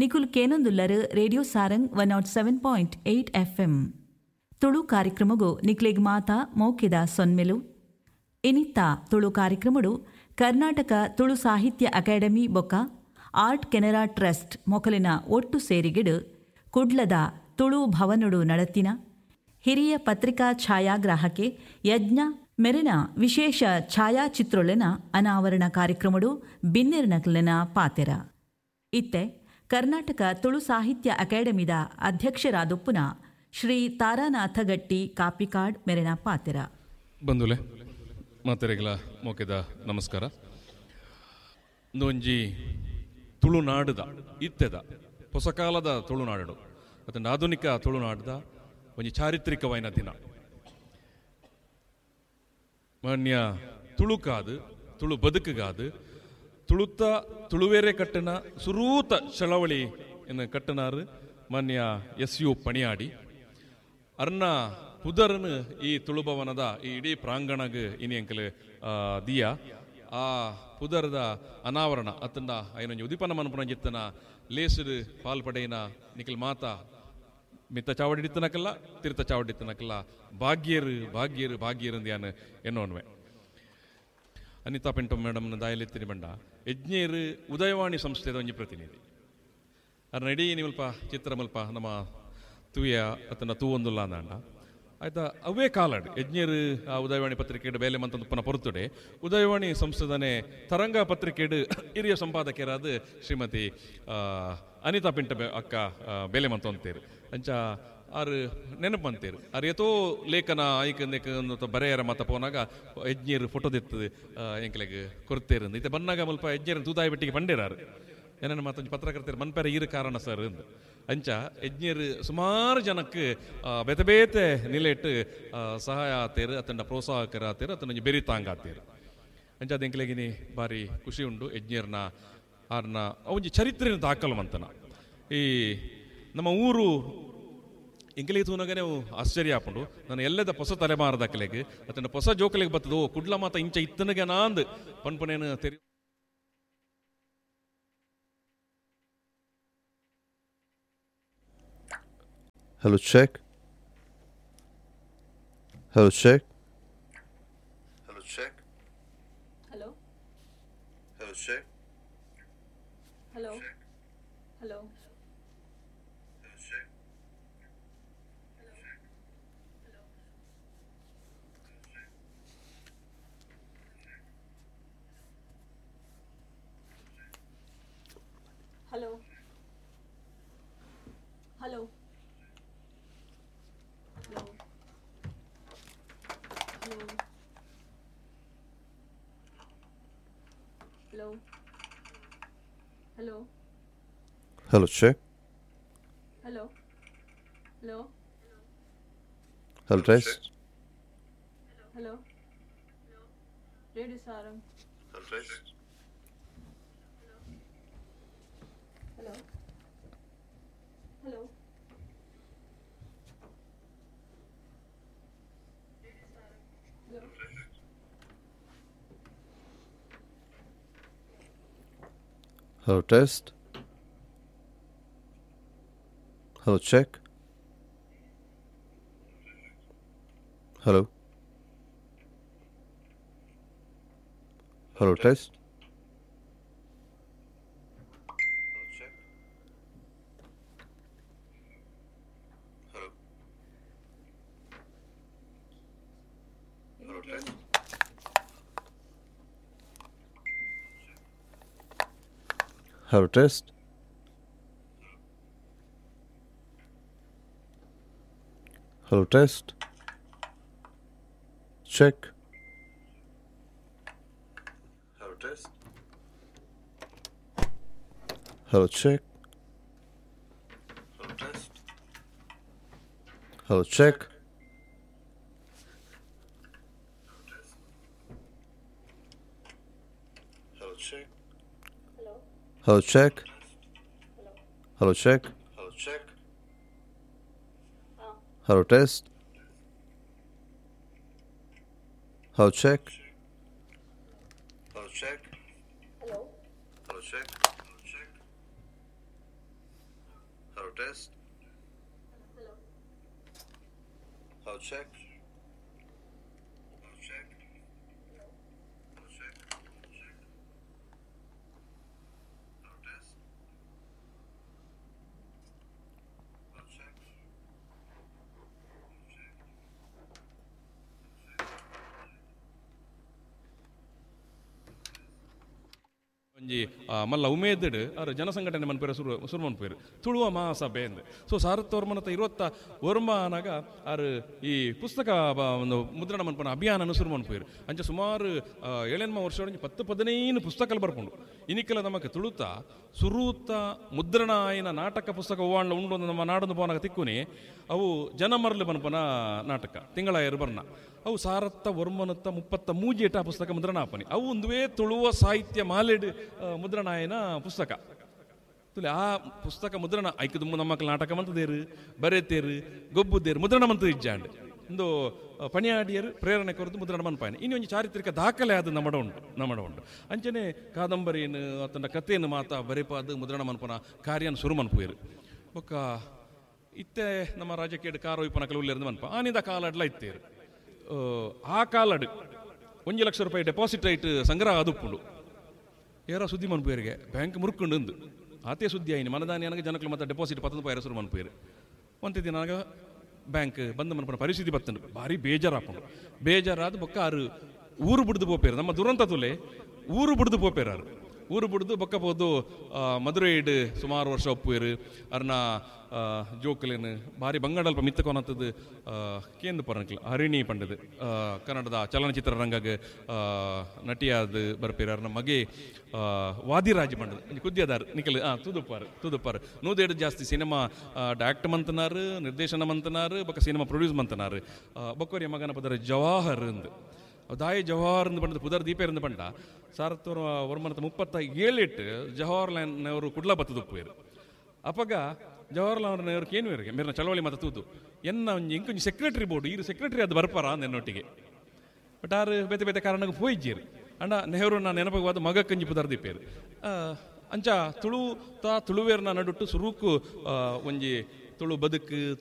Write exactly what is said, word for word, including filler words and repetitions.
ನಿಕುಲ್ ಕೇನೊಂದುಲ್ಲರು radio Sarang one nought seven point eight F M. Tulu ಕಾರ್ಯಕ್ರಮಗು ನಿಕ್ಲೆಗ್ ಮಾತಾ ಮೌಕ್ಯದ ಸೊನ್ಮೆಲು. ಇನಿತ್ತ ತುಳು ಕಾರ್ಯಕ್ರಮಡು ಕರ್ನಾಟಕ ತುಳು ಸಾಹಿತ್ಯ academy ಬೊಕ್ಕ ಆರ್ಟ್ ಕೆನರಾ ಟ್ರಸ್ಟ್ ಮೊಕಲಿನ ಒಟ್ಟು ಸೇರಿಗಿಡು ಕುಡ್ಲದ ತುಳು ಭವನುಡು ನಡತಿನ ಹಿರಿಯ ಪತ್ರಿಕಾ ಛಾಯಾಗ್ರಾಹಕೆ ಯಜ್ಞ ಮೆರೆನ ವಿಶೇಷ ಛಾಯಾಚಿತ್ರೊಲೆನ ಅನಾವರಣ ಕಾರ್ಯಕ್ರಮಡು ಬಿನ್ನೆರ್ನಕ್ಲೆನ ಪಾತೆರ. ಇತ್ತೆ ಕರ್ನಾಟಕ ತುಳು ಸಾಹಿತ್ಯ ಅಕಾಡೆಮಿದ ಅಧ್ಯಕ್ಷರಾದೊಪ್ಪುನ ಶ್ರೀ ತಾರಾನಾಥ ಗಟ್ಟಿ ಕಾಪಿಕಾಡ್ ಮೆರೆನ ಪಾತೆರ. ಬಂಧುಲೆ ಮಾತೆರೆಗಳ ಮೋಕೆದ ನಮಸ್ಕಾರ. ಒಂಜಿ ತುಳುನಾಡುದ ಇತ್ತೆದ ಹೊಸಕಾಲದ ತುಳುನಾಡು ಮತ್ತು ಆಧುನಿಕ ತುಳುನಾಡದ ಒಂಜಿ ಚಾರಿತ್ರಿಕವಾಯಿನ ದಿನ. ಮಾನ್ಯ ತುಳುಕಾದು ತುಳು ಬದುಕುಗಾದು ತುಳುತ್ತ ತುಳುವೇರೆ ಕಟ್ಟನ ಸುರೂತ ಚಳವಳಿ ಎನ್ನು ಕಟ್ಟನಾರು ಮಾನ್ಯ ಎಸ್ you Paniyadi ಅರ್ನ ಪುದರ್ನು ಈ ತುಳುಭವನದ ಈ ಇಡೀ ಪ್ರಾಂಗಣಗ್ ಇನಿ ಅಂಕಲ್ ದಿಯಾ ಆ ಪುದರ್ದ ಅನಾವರಣ ಅತ್ತಂಡ ಐನೊಂಜಿ ಉದಿಪನ ಮನ್ಪುನ ಜಿತ್ತನ ಲೇಸುಡು ಪಾಲ್ಪಡೆಯಿನ ನಿಖಿಲ್ ಮಾತಾ ಮಿತ್ತ ಚಾವಡಿತ್ತನಕಲ್ಲ ತೀರ್ಥ ಚಾವಡಿತ್ತನಕಲ್ಲ ಭಾಗ್ಯರು ಭಾಗ್ಯರು ಭಾಗ್ಯರು ಅಂದ್ಯಾನು ಎನ್ನೋನ್ವೆ. ಅನಿತಾ ಪಿಂಟೋ ಮೇಡಮ್ನ ದಾಯಲೆತ್ತಿನಿ ಬಂಡ ಯಜ್ಞೇರು ಉದಯವಾಣಿ ಸಂಸ್ಥೆದ ಒಂಜಿ ಪ್ರತಿನಿಧಿ ಅರ್ನ ಇಡೀ ನಿಮಲ್ಪ ಚಿತ್ರ ಮಲ್ಪ ನಮ್ಮ ತೂಯ ಅತ್ತನ ತೂವೊಂದುಲ್ಲ ಅಂದಾಂಡ ಆಯ್ತಾ. ಅವೇ ಕಾಲಾಡು ಯಜ್ಞರು ಆ ಉದಯವಾಣಿ ಪತ್ರಿಕೆಡು ಬೇಲೆ ಮಂತಂದುಪ್ಪನ ಪೊರ್ತುಡೆ ಉದಯವಾಣಿ ಸಂಸ್ಥೆದನೆ ತರಂಗ ಪತ್ರಿಕೆಡು ಹಿರಿಯ ಸಂಪಾದಕರಾದ ಶ್ರೀಮತಿ ಅನಿತಾ ಪಿಂಟ ಅಕ್ಕ ಬೇಲೆ ಮಂತಂತೇರು ಅಂಚ ಆರು ನೆನಪು ಅಂತೀರು. ಆರು ಏತೋ ಲೇಖನ ಐಕ್ ಬರೆಯರ ಮತ ಪೋನಾಗ ಯಜ್ಞರು ಫೋಟೋ ದಿತ್ತದು ಎಂಕ್ಲೆಗ್ ಕೊರ್ತೇರು ಇತ್ತೆ ಬನ್ನಾಗ ಮುಲ್ಪ ಯಜ್ಞರು ತೂದಾಯಿ ಬೆಟ್ಟಿಗೆ ಪಂಡೇರಾರು ಏನೇನು ಮತ್ತೊಂದು ಪತ್ರಕರ್ತರು ಮನ್ಪೆರೆ ಈರು ಕಾರಣ ಸರ್ ಅಂದು. ಅಂಚ ಯಜ್ಞರು ಸುಮಾರು ಜನಕ್ಕೆ ಬೇತೆ ಬೇತೆ ನಿಲೆಟ್ಟು ಸಹಾಯ ಆತೇರು ಅತಂಡ ಪ್ರೋತ್ಸಾಹಕರ ಆತೇರು ಅತನ ಬೆರಿ ತಾಂಗಾತೇರು. ಅಂಚ ಅದು ಎಂಕ್ಲೆಗಿನಿ ಭಾರಿ ಖುಷಿ ಉಂಡು ಯಜ್ಞರ್ನ ಆರ್ನ ಒಂಜಿ ಚರಿತ್ರೆನ ದಾಖಲು ಮಂತನ. ಈ ನಮ್ಮ ಊರು ಎಂಕಲಿಗೆ ತೂನಗನೇ ಆಶ್ಚರ್ಯ ಆಪುಂಡು. ನಾನು ಎಲ್ಲದ ಹೊಸ ತಲೆಮಾರದ ಕಲೆಗೆ ಅತನ ಹೊಸ ಜೋಕಲಿಗೆ ಬರ್ತದೋ ಕುಡ್ಲ ಮಾತ ಇಂಚ ಇತ್ತನಿಗೆ ನಾಂದು ಪನ್ಪನೇನು ತೆರಿ Hello, check. Hello, check. Hello, check. Hello. Hello, check. Hello. Hello. Hello. Hello. Hello. Hello. Hello. Hello. Hello, check. Hello. Hello. Hello, test. Hello. Radio Sarang. Hello, test. Hello. Hello. Hello. Hello, test. Hello, check. Hello. Hello, test. Hello, test. Hello, test. Check. Hello, test. Hello, check. Hello, test. Hello, check. Hello, check. Hello, check. Hello, check. Hello, check. Hello, test. Hello, check. Hello, check. Hello. Hello, check. Hello, check. test. Hello. Check. Hello check. Hello check. Check. Hello test. Hello check. Check. ಒಂಜಿ ಮಲ್ಲ ಉಮೇದಡ್ ಅರ್ ಜನಸಂಘಟನೆ ಮನ್ಪೇರು ಸುರು ಸುರು ಮನ್ಪೇರು ತುಳುವ ಮಹಾಸಭೆ ಅಂದ್. ಸೊ ಸಾರತ್ತೋರ್ಮನತ ಇರುವತ್ತ ಒರ್ಮ ಆನಾಗ ಆರ್ ಈ ಪುಸ್ತಕ ಒಂದು ಮುದ್ರಣ ಮನ್ಪನ ಅಭಿಯಾನ ಸುರು ಮನ್ಪೇರು. ಅಂಚ ಸುಮಾರು ಏಳೆನ್ಮ ವರ್ಷ ಒಂಜಿ ಪತ್ತು ಪದಿನೈನು ಪುಸ್ತಕలు ಬರ್ಪುಂಡು. ಇನಿಕೆಲ್ಲ ನಮಕ್ ತುಳುತ ಸುರೂತ ಮುದ್ರಣ ಆಯಿನ ನಾಟಕ ಪುಸ್ತಕ ಹೂವಾಂಡ್ಲ ಉಂಡು ನಮ್ಮ ನಾಡನ್ನು ಪೋನಾಗ ತಿಕ್ಕುನಿ ಅವು ಜನಮರ್ಲು ಮನ್ಪನ ನಾಟಕ ತಿಂಗಳ ಬರ್ನ ಅವು ಸಾರತ್ತ ಒರ್ಮನತ್ತ ಮುಪ್ಪತ್ತ ಮೂಜೇಟ ಪುಸ್ತಕ ಮುದ್ರಣ ಆಪನಿ ಅವು ಒಂದುವೇ ತುಳುವ ಸಾಹಿತ್ಯ ಮಾಲೆಡ್ ಮುದ್ರಣಾಯನ ಪುಸ್ತಕ. ತುಲೆ ಆ ಪುಸ್ತಕ ಮುದ್ರಣ ಐಕದು ನಮ್ಮ ನಾಟಕ ಮಂತದೇರು ಬರೆತೇರು ಗೊಬ್ಬುದೇರು ಮುದ್ರಣ ಮಂತ ಇಜ್ಜಾಂಡ್ ಒಂದು ಪಣಿಯಾಡಿಯರು ಪ್ರೇರಣೆ ಕೊರದು ಮುದ್ರಣ ಮನ್ಪಾಯನ. ಇನ್ನು ಒಂಜಿ ಚಾರಿತ್ರಿಕ ದಾಖಲೆ ಅದು ನಮ್ಮಡ ಉಂಟು ನಮ್ಮಡ ಉಂಟು. ಅಂಚನೆ ಕಾದಂಬರಿಯನ್ನು ಆತನ ಕಥೆಯನ್ನು ಮಾತಾ ಬರೆಪಾದು ಮುದ್ರಣ ಮನ್ಪನ ಕಾರ್ಯನ ಸುರು ಮನ್ಪುವೇರು. ಬೊಕ್ಕ ಇತ್ತೆ ನಮ್ಮ ರಾಜಕೀಯ ಕಾರೋಯ್ಪನ ಕೆಲವು ಮನ್ಪ ಆನಿದ ಕಾಲಡ್ಲ ಇತ್ತೇರು ಆ ಕಾಲಡ್ ಒಂಜಿ ಲಕ್ಷ ರೂಪಾಯಿ ಡೆಪಾಸಿಟ್ ಐಟ್ ಸಂಗ್ರಹ ಆದುಪ್ಪುಂಡು. ಏರ ಸುದ್ದಿ ಮನ್ಪುವೇರಿಗೆ ಬ್ಯಾಂಕ್ ಮುರುಕುಂಡು ಅಂದು ಆತೇ ಸುದ್ದಿ ಆಯ್ನಿ ಮನದಾನಿ ನನಗೆ ಜನಕ್ಕಲು ಮತ್ತೆ ಡೆಪಾಸಿಟ್ ಪತ್ತೊಂದು ರೂಪಾಯಿ ಸುರು ಮನ್ಪುವೇರು. ಒಂತೆ ದಿನ ನನಗೆ ಬ್ಯಾಂಕ್ ಬಂದು ಮನ್ಪನ ಪರಿಸ್ಥಿತಿ ಬತ್ತಂಡು ಭಾರಿ ಬೇಜಾರಾಪುಂಡು. ಬೇಜಾರಾದ ಬೊಕ್ಕ ಆರು ಊರು ಬಿಡ್ದು ಪೋಪೇರು ನಮ್ಮ ದುರಂತ ತುಲೆ ಊರು ಬಿಡ್ದು ಪೋಪೇರು ಆರು ಊರು ಬಿಡ್ದು ಬೊಕ್ಕ ಪೋದು ಮಧುರೈಡ್ ಸುಮಾರು ವರ್ಷ ಒಪ್ಪುವೇರು. ಅರ್ನ ಜೋಕುಲೇನು ಭಾರಿ ಬಂಗಾಡಲ್ಪ ಮಿತ್ತಕೊನಂಥದ್ದು ಕೇಂದ್ರ ಪರನಕ್ಲ ಹರಿಣಿ ಪಂಡದು ಕನ್ನಡದ ಚಲನಚಿತ್ರ ರಂಗಗ್ ನಟಿಯಾದ ಬರ್ಪೇರು. ಅರ್ನ ಮಗೆ ವಾದಿರಾಜ್ ಪಂಡದು ಒಂಜಿ ಕುದ್ಯದಾರ್ ನಿಕಲ್ ಹಾಂ ತೂದುಪ್ಪಾರು ತೂದುಪ್ಪಾರು ನೂದೇಡು ಜಾಸ್ತಿ ಸಿನಿಮಾ ಡೈರೆಕ್ಟ್ ಮಂತನಾರು ನಿರ್ದೇಶನ ಮಂತನಾರು ಬೊಕ್ಕ ಸಿನಿಮಾ ಪ್ರೊಡ್ಯೂಸ್ ಮಂತನಾರು. ಬೊಕ್ಕೋರಿಯ ಮಗನ ಪದರ ಜವಾಹರ್ ಅಂದು ದಾಯಿ ಜವಾಹರ್ ಎಂದು ಪಂಡದ ಪುದರ್ ದೀಪ ಎಂದು ಪಂಡ ಸಾರತ್ತೋರ ವರ್ಮನತ ಮುಪ್ಪತ್ತ ಏಳೆಟ್ಟು ಜವಾಹರ್ಲಾಲ್ ನೆಹರು ಕುಡ್ಲ ಬತ್ತದುಪ್ಪುವೇರು. ಅಪಗ ಜವಾಹರ್ಲಾಲ್ ನೆಹರು ಕೇನುವೇರಿಗೆ ಮೇರಿನ ಚಳವಳಿ ಮಾತ ತೂದು ಎನ್ನ ಒಂಜಿ ಇಂಕೊಂಜಿ ಸೆಕ್ರೆಟರಿ ಬೋರ್ಡು ಈರು ಸೆಕ್ರೆಟರಿ ಅದು ಬರ್ಪಾರ ಎನ್ನೊಟ್ಟಿಗೆ ಬಟ್ ಆರು ಬೇತೆ ಬೇತೆ ಕಾರಣಕ್ಕೆ ಪೋಯಿಜ್ಜೇರು. ಅಂಡ ನೆಹರು ನಾನು ನೆನಪವಾದ ಮಗ ಕಂಜಿ ಪುದರ್ ದೀಪೇರು. ಅಂಚ ತುಳು ತಾ ತುಳುವೇರ್ನ ನಡುಟ್ಟು ಸುರುಕು ಒಂಜಿ ತುಳು ಬದುಕು ತುಳು